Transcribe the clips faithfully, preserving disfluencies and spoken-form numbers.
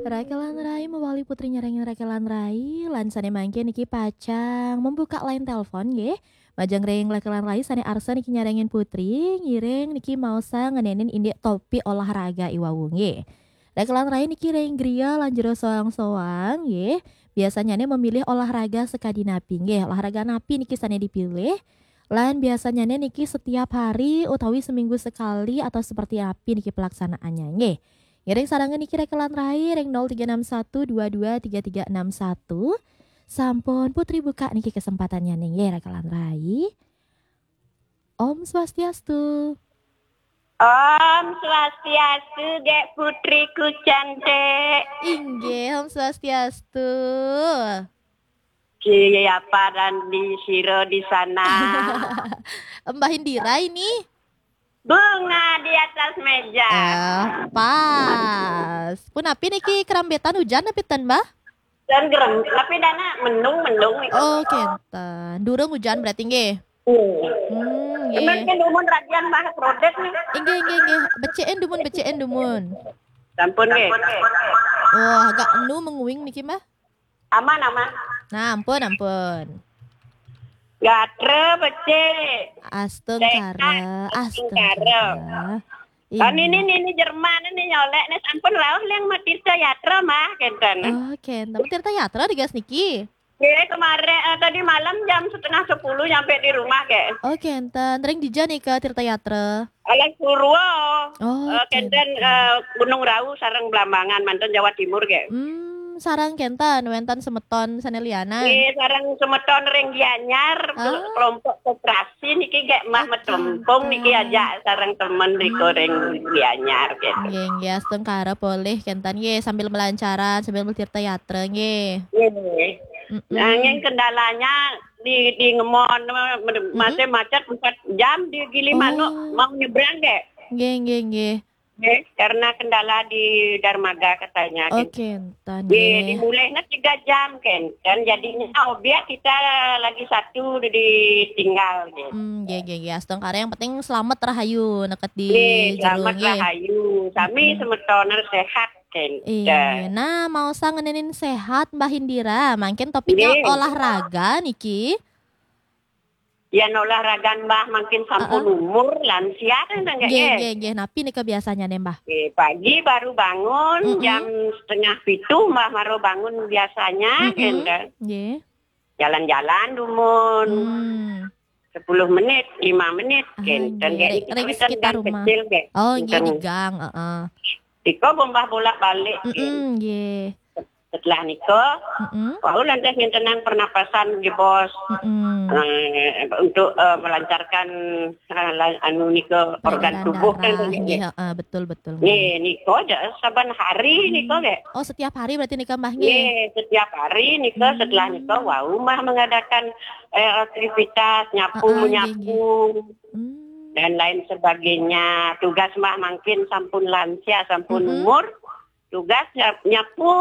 Rakelan Rai mawali Putri nyarengin Rakelan Rai, lan sane mangke niki pacang membuka line telepon nggih. Majeng ring Rakelan Rai sane arsa niki nyarengin Putri, ngiring niki maosa ngenenin indik topik olahraga iwau nggih. Rakelan Rai niki ring griya lan jero soang-soang nggih. Biasanyane memilih olahraga sakadi napi nggih. Olahraga napi niki sane dipilih? Lan biasanyane niki setiap hari utawi seminggu sekali atau seperti api niki pelaksanaannya nggih. Ngiring sarengin niki Rakelan Rai ring nol tiga enam satu dua dua tiga tiga enam satu. Sampun Putri buka niki kesempatannya nggih Rakelan Rai. Om Swastiastu. Om Swastiastu, Gek Putriku cantik. Inggih, Om Swastiastu. Siapa dan di siro di sana? Mbah Indira ini. Bunga di atas meja. Ah, pas. Punapi niki kerambetan hujan napi ten, Mbah? Dan gerem, tapi dana mendung-mendung itu. Oh, kenten. Durung hujan berarti nggih. Hmm. Hmm, nggih. Emang kan umur radian Mbah Prodet nih. Inggih, inggih, inggih. Beceken dumun, beceken dumun. Sampun nggih. Wah, agak enu menguing niki, Mbah. Aman, aman. Nah, ampun, ampun. Gatra becik. Astungkara, sehat, astungkara. Astungkara. Kan ini, ini Jerman ini nyolek nih, sampun rauh liang matirta yatra mah kenten. Oh, kenten. Tirta yatra digas niki. Nggih, kemarin, eh, tadi malam jam setengah sepuluh nyampe di rumah, Kek. Oh, kenten. Ring dija nika Tirta Yatra? Alas Purwo. Oh, eh, kenten, kenten. Eh, Gunung Rawu sareng Blambangan, manten Jawa Timur, Kek. Hmm, sareng kenten wenten semeton sane lianan. Nggih, sareng semeton ring Gianyar, ah, kelompok koperasi niki, Kek, mah, oh, metempung niki, kenten. Ajak sareng temen riko ring, hmm, Gianyar, Kek. Nggih, nggih, astungkara polih kenten nggih sambil melancaran, sambil bertirta yatra nggih. Nggih. Mm-mm. Nanging kendalanya di, di Ngemon, me-, me-, hmm, masih macet empat jam di Gili Manuk, oh, mau nyebrang, Kek. Nggih, nggih, nggih. Nggih, karena kendala di dermaga katanya, oh, kenten. Kenten, nggih, nggih. Dimulainya tiga jam, kenten. Jadinya obyek kita lagi satu ditinggal, gitu. Hmm, nggih, nggih, nggih. Astungkara yang penting selamat rahayu neked di, nggih, jero, selamat, nggih, rahayu. Sami, mm-mm, semeton sehat. Kenten. Iya. Nah, maosa ngenenin sehat, Mbah Indira. Mangkin topiknya, nggih, olahraga niki. Yen olahraga Mbah mangkin sampun, heeh, umur lansia kan, nggih, nggih, nggih, nggih. Napi nika biasanya nih, Mbah? Nggih, pagi baru bangun, mm-mm, jam setengah pitu Mbah baru bangun biasanya, mm-mm, kenten. Nggih. Jalan-jalan dumun. Hmm. Sepuluh menit, lima menit, ah, kenten, nggih. Nggih, niki ring, ring sekitar gang rumah. Kecil, nggih. Oh, nggih, kenten. Di gang, heeh. Nika Mbah bolak-balik, nggih. Mm-mm, nggih. Setelah nika, mm-mm, wau lantas ngentenang pernapasan, nggih, Bos. Mm-mm. Eh, untuk, eh, melancarkan, eh, la-, anu nika, organ tubuh kan, peredaran darah, nggih, nggih. Heeh, betul, betul, nggih. Nggih, nika aja saban hari, hmm, nika, nggih. Oh, setiap hari berarti nika, Mbah, nggih? Nggih, setiap hari nika, hmm, setelah nika wau Mbah mengadakan, eh, aktivitas nyapu, heeh, nggih, menyapu, nggih, hmm, dan lain sebagainya. Tugas Mbah mangkin sampun lansia, sampun, mm-mm, umur. Tugas nyap-, nyapu.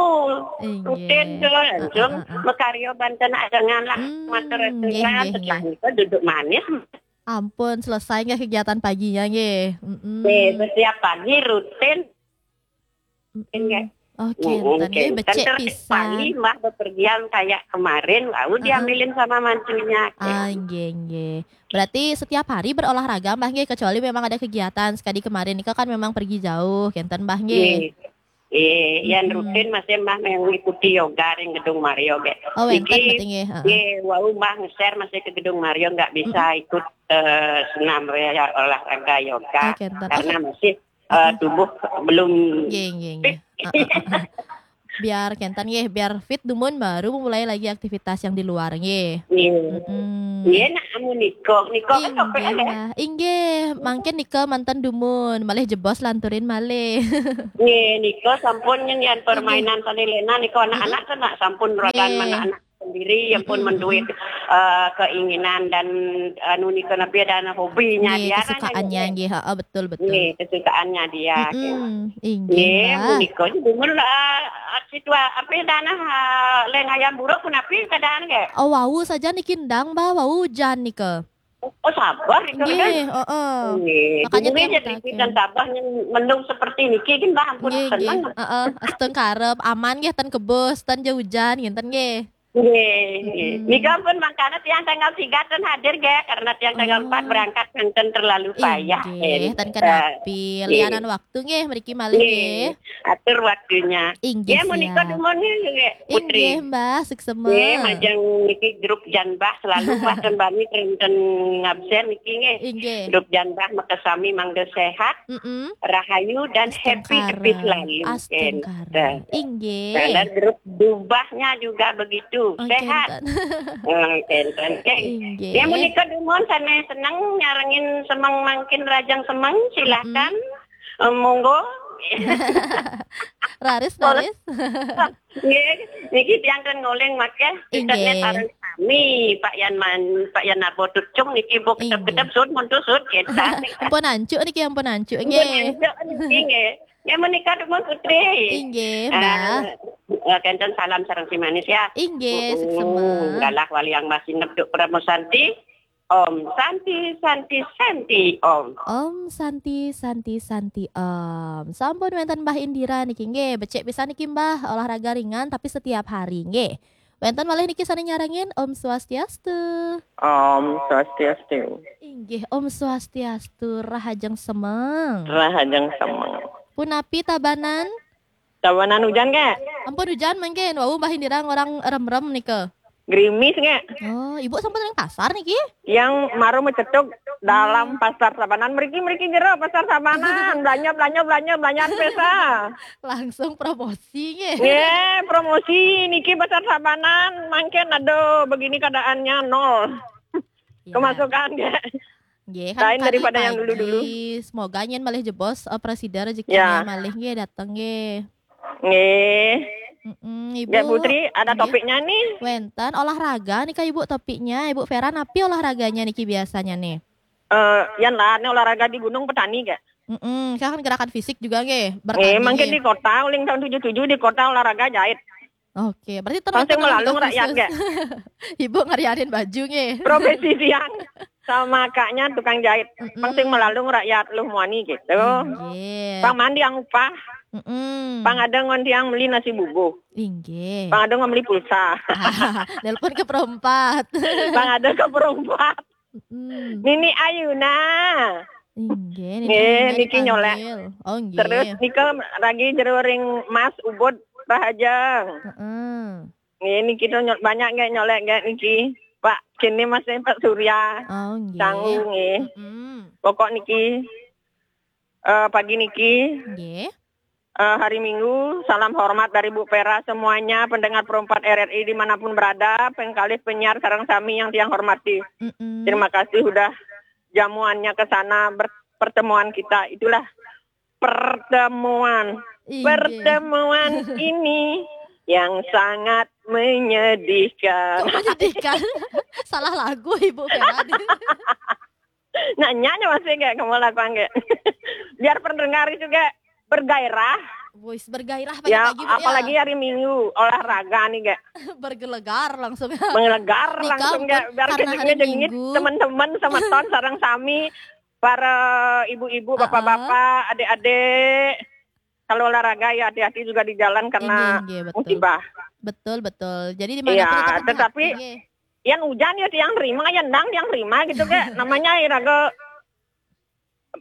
Inggih. Rutin tuh, langsung, heeh, heeh, makarya banten ajengan lah, hmm, matur-aturan, nggih, nggih, setelah, nggih, nika duduk manis. Ampun, selesai nggih kegiatan paginya nggih. Mm-mm. Nggih, setiap pagi rutin. Mm-mm. Nggih. Oke, mm-mm, enten nggih, kenten. Becik pisan. Pagi Mbah bepergian kayak kemarin, lalu, heeh, diambilin sama mantunya. Ah, nggih, nggih. Berarti setiap hari berolahraga, Mbah, nggih, kecuali memang ada kegiatan. Sekali kemarin nika kan memang pergi jauh, kenten, Mbah, nggih. Nggih. Eh, yang, mm-mm, rutin masih Mbah mengikuti yoga di Gedung Mario, nggih. Oh, wenten niki, berarti nggih, heeh, nggih, wau Mbah nge-share masih ke Gedung Mario, nggak bisa, mm-mm, ikut, eh, senam ya, olahraga yoga. Oke, ntar. Karena masih, eh, mm-mm, tubuh belum, nggih, nggih, nggih, fit. Heeh, heeh. Biar kenten nggih, biar fit dumun baru mulai lagi aktivitas yang di luar nggih. Nggih. Mm-mm. Nggih, nak amun nika, nika kan, inggih, topik, ya, Mbah. Inggih, mangkin nika manten dumun, malih jebos lanturin malih. Nggih, nika sampun nyen, nggih, permainan sane lena nika anak-anak, mm-mm, kan nak sampun ragan, nggih, anak-anak sendiri yang pun, mm-mm, menduit, mm-mm, eh, keinginan dan anu nika napi ada hobinya, nggih, dia kan, kesukaannya, nggih. Nggih, heeh, betul, betul. Nggih, kesukaannya dia, mm-mm, nggih. Inggih, nggih, Mbah. Menika dumun, eh, situa-, apa, dana, eh, leng ayam buruk punapi keadaan, nggih? Oh, wau saja niki endang, Mbah, wau ujan nika. Oh, sabar itu kan. Nggih, heeh. Nggih, Makanya dulu tiang jadi mutaken. Dan sabar yang mendung seperti niki kan, Mbah, ampun, Nggih, nggih. seneng. Heeh, asteng karep, aman nggih, ten kebus, ten jaujan ngenten nggih. Nggih, nggih. Mm-mm. Nika pun mangkana tiang tanggal tiga ten hadir nggih, karena tiang tanggal Oh. empat berangkat, ten terlalu payah. Inggih, Ten, ten kenapi, eh, lianan waktu nggih, mriki malih nggih. Nggih, atur waktunya. Inggih, Ya, menika siap. dumun nggih, Putri. Inggih, Mbah, suksema. Nggih, majeng niki grup Jan Mbah selalu Mbah ten bani ten ngabsen niki nggih. Inggih. Grup Jan Mbah makasami mangga sehat, Mm-mm. rahayu dan happy happy Astungkara. Selalu. Astungkara. Kenten. Inggih. Karena grup dubahnya juga begitu, Oh, sehat. kenten. Eh, kenten. Eh, Inggih. Ya, menika dumun sanes seneng nyarengin semeng mangkin, Rahajeng Semeng, silahkan. Eh, monggo. Raris, raris. Nggih, niki tiang ten ngoling makeh, Inggih. Internet sareng sami, Pak Yan Man, Pak Yan Nabo Tucung niki, Bu, Inggih. kedep-kedep, sun, muntu, sun, kita. Ampun ancuk niki, ampun ancuk Ampun, nggih. ancuk niki nggih. Ya, menika dumun, Putri. Inggih, Ah, Mbah. eh, kenten salam sareng si manis ya. Inggih, Mm-mm. suksema. Galah wali yang masih nebduk Pramosanti. Om Santi, Santi, Santi, Om. Om Santi, Santi, Santi, Om. Sampun wenten Mbah Indira niki nggih. Becik pisan niki Mbah, olahraga ringan tapi setiap hari nggih. Wenten malih niki sane nyarengin, Om Swastiastu. Om Swastiastu. Inggih, Om Swastiastu, Rahajeng Semeng. Rahajeng Semeng. Punapi Tabanan? Tabanan hujan nggih? Ampun hujan mangkin. Wau Mbah Indira ngorang rem-rem nika. Gerimis nggih? Oh, Ibu sampun ring pasar niki? Yang maru mecetuk dalam pasar Tabanan, mriki, mriki jero pasar Tabanan. Belanja, belanja, belanja, belanja pesa. Langsung promosi nggih. Nggih, promosi niki pasar Tabanan, mangkin aduh begini keadaannya nol. Ya. Kemasukan nggih. Nggih, Lain kan daripada kali yang dulu-dulu. Pagi. Semoga nyen malih jebos, eh, presida rezekinya Ya. malih nggih dateng nggih. Nggih. Mm-mm, Ibu. Nggih, Putri, ada Nggih. Topiknya nih. Wenten olahraga nih Kak Ibu topiknya. Ibu Vera napi olahraganya niki biasanya nih? Eh, yang lainnya olahraga di gunung, petani nggih? Mm-mm, saya kan gerakan fisik juga nggih. Nggih, mungkin di kota, uling tahun tujuh tujuh di kota olahraga jahit. Oke, berarti Pasti melalung rakyat nggih. Ibu ngariarin baju nggih. Profesi tiang sama kaknya tukang jahit. Mm-mm. Pasti melalung rakyat luh muani gitu. Inggih. Pang mandi yang upah, Mm-mm. pang ada ngon tiang beli nasi bubuh, Inggih. pang ada ngon beli pulsa, Nelpon ke perempat. pang ada ke perempat. Mm-mm. Nini Ayuna. Inggih, Nggih, niki nyolek. Oh, nggih. Terus nika lagi jero ring Mas Ubud Rahajeng. Heeh. Nggih, niki to nyol-, banyak nggih nyolek nggih niki. Pak, kini masih Pak Surya. Oh, nggih. Tanggung nggih. Mm-mm. Pokok niki, eh, pagi niki, Nggih. eh, hari Minggu, salam hormat dari Bu Vera semuanya, pendengar Pro empat R R I dimanapun berada, pengkalih penyiar sareng sami yang tiang hormati. Mm-mm. Terima kasih udah jamuannya ke sana, ber-, pertemuan kita. Itulah pertemuan. Inggih. Pertemuan ini yang sangat menyedihkan. Kok menyedihkan? Salah lagu Ibu Vera. Nanya aja masih kayak kamu lakukan kayak. Biar pendengar juga bergairah. Wis bergairah Ya, pagi-pagi, Bu, ya. Apalagi hari Minggu, olahraga nih kayak. Bergelegar langsung. Mengelegar Nika langsung ampun, kayak, biar karena hari kejengit-jengit Minggu. Teman-teman sama ton sareng sami, para ibu-ibu, Ah, ah. bapak-bapak, adik-adik. Kalau olahraga ya hati-hati juga di jalan karena Inggih, inggih, betul. musibah. Betul, betul. Jadi di Iya, mana pun tetap tetapi hati-hati, nggih. Yang hujan ya tiang terima, yang dang tiang terima gitu kayak. Namanya iraga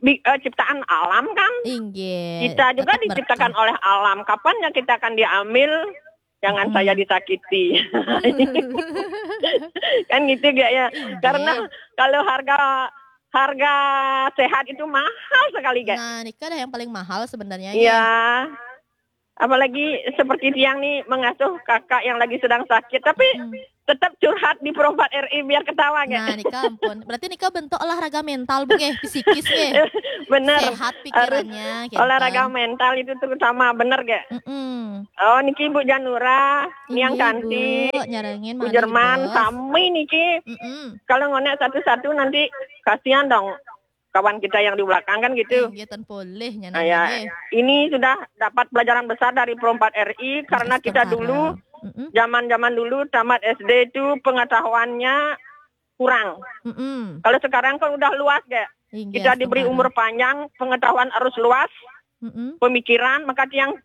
bi-, eh, ciptaan alam kan. Inggih. Kita juga Tetap diciptakan berkah. Oleh alam. Kapan yang kita akan diambil? Jangan Hmm. Saya disakiti. Kan gitu gak ya? Inggih. Karena kalau harga harga sehat itu mahal sekali, gak? Nah, nika ada yang paling mahal sebenarnya, Iya. ya. Apalagi seperti tiang nih mengasuh kakak yang lagi sedang sakit, tapi Hmm. tetap curhat di Pro empat R I biar ketawa, gak? Nah, nika ampun. Berarti nika bentuk olahraga mental, Bu, nggih, psikis, nggih. Bener. Sehat pikirannya, gitu. Olahraga mental itu terutama, bener, gak? Mm-mm. Oh, niki Ibu Janura, Niang Inggih, Kanti, Bu, nyarengin Bu malih, Jerman, Bos. Sami niki. Mm-mm. Kalau ngonek satu-satu nanti kasihan dong kawan kita yang di belakang kan gitu. Inggih, ten polih Nah, ya, nyanyi. Ini sudah dapat pelajaran besar dari Pro empat R I karena kita Astungkara. Dulu, Mm-mm. zaman-zaman dulu tamat S D itu pengetahuannya kurang. Mm-mm. Kalau sekarang kan udah luas, Gek. Inggih, Kita diberi astungkara. Umur panjang, pengetahuan harus luas, Mm-mm. pemikiran, maka tiang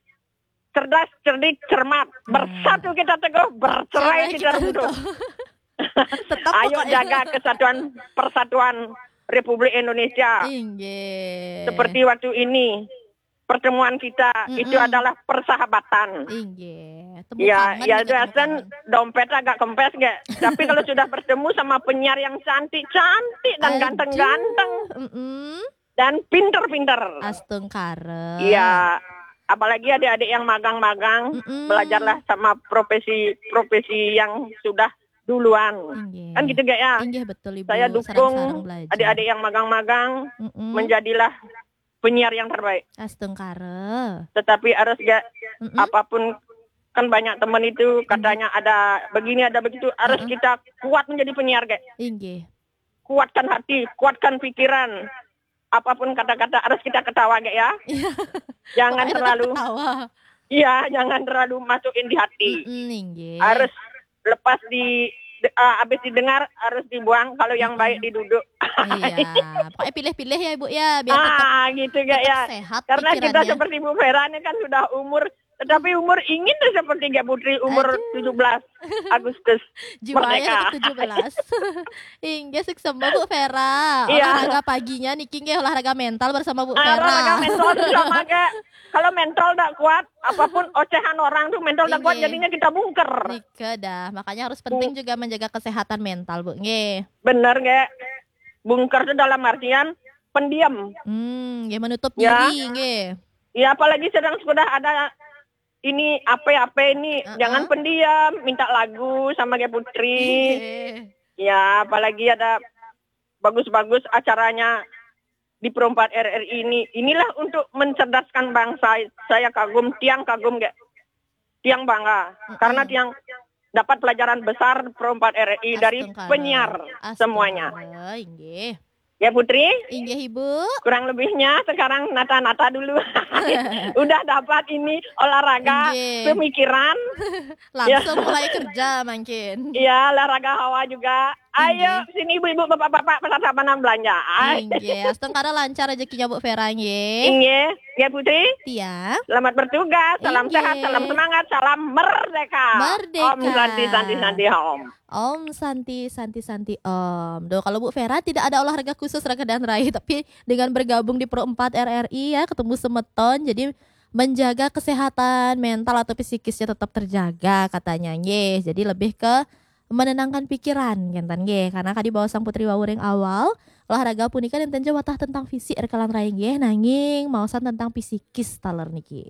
cerdas, cerdik, cermat. Nah. Bersatu kita teguh, bercerai Cerai kita kita runtuh. runtuh. Tetap Ayo pokoknya. Jaga kesatuan, persatuan Republik Indonesia. Inggih. Seperti waktu ini, pertemuan kita Mm-mm. itu adalah persahabatan. Inggih. Temu Ya, kangen ya gitu, itu temu Asten kangen. Dompet agak kempes, Gek. Tapi kalau sudah bertemu sama penyiar yang cantik-cantik dan Aduh. Ganteng-ganteng Mm-mm. dan pinter-pinter. Astungkara. Iya, apalagi adik-adik yang magang-magang, Mm-mm. Belajarlah sama profesi-profesi yang sudah duluan. Inggih. Kan gitu, Gek, ya? Inggih, betul, Ibu. Saya dukung Sareng-sareng belajar. Adik-adik yang magang-magang, Mm-mm. Menjadilah penyiar yang terbaik. Astungkara. Tetapi harus, Gek, Mm-mm. apapun, kan banyak teman itu katanya ada begini, ada begitu, harus Mm-mm. kita kuat menjadi penyiar, Gek. Inggih. Kuatkan hati, kuatkan pikiran. Apapun kata-kata harus kita ketawa, Gek, ya. Iya. Jangan Pokoknya tetap terlalu, ketawa. Iya, jangan terlalu masukin di hati. Mm-mm, inggih. Harus lepas di, de- ah, habis didengar harus dibuang, kalau yang Mm-mm. baik diduduk. Iya, pokoknya pilih-pilih ya, Ibu, ya, biar tetap Ah, gitu, Gek, tetap ya. sehat Karena kita pikirannya. Seperti Bu Vera ini kan sudah umur, tetapi umur ingin tuh seperti Gek Putri, umur Aduh. tujuh belas Agustus. Jiwa ya Merdeka. Tujuh belas. Inggih, suksma, Bu Vera. Iya. Olahraga paginya niki nggih olahraga mental bersama Bu Ah, Vera. Olahraga mental tuh sama, Gek. Kalau mental tak kuat, apapun ocehan orang tuh mental tak kuat, Inggih. Jadinya kita bungker. Nika dah, makanya harus penting juga menjaga kesehatan mental, Bu. Nggih. Bener, Gek. Bungker tuh dalam artian pendiam. Hmm, nggih, menutup Ya. diri, nggih. Ya, apalagi sedang sudah ada ini apa-apa ini, Uh-uh. Jangan pendiam, minta lagu sama Gek Putri. Nggih. Ya, apalagi ada bagus-bagus acaranya di Pro empat R R I ini. Inilah untuk mencerdaskan bangsa. Saya kagum, tiang kagum, Gek. Tiang bangga. Mm-mm. Karena tiang dapat pelajaran besar Pro empat R R I dari Astungkara. Penyiar Astungkara, semuanya. Inggih. Ya, Putri, Inggih, Ibu. Kurang lebihnya sekarang nata-nata dulu. Udah dapat ini olahraga, Inggih. Pemikiran. Langsung mulai kerja mungkin. Iya, olahraga hawa juga. Ayo, Inggih. Sini ibu-ibu, bapak-bapak, pasar Tabanan belanja. Ay. Inggih, astungkara lancar rezekine, Bu Vera, nggih. Inggih, ya, Putri. Tiang. Selamat bertugas, salam Inggih. Sehat, salam semangat, salam merdeka. Merdeka. Om Santi, Santi, Santi, Om. Om Santi, Santi, Santi, Om. Duh, kalau Bu Vera tidak ada olahraga khusus raga dan rai, tapi dengan bergabung di Pro empat R R I ya, ketemu semeton, jadi menjaga kesehatan mental atau psikisnya tetap terjaga katanya, nggih. Jadi lebih ke menenangkan pikiran, kenten nggih. Karena kadi baos Sang Putri wau ring awal, olahraga punika nenten ja watah tentang fisik rekalan rai nggih, nanging maosan tentang psikis taler niki.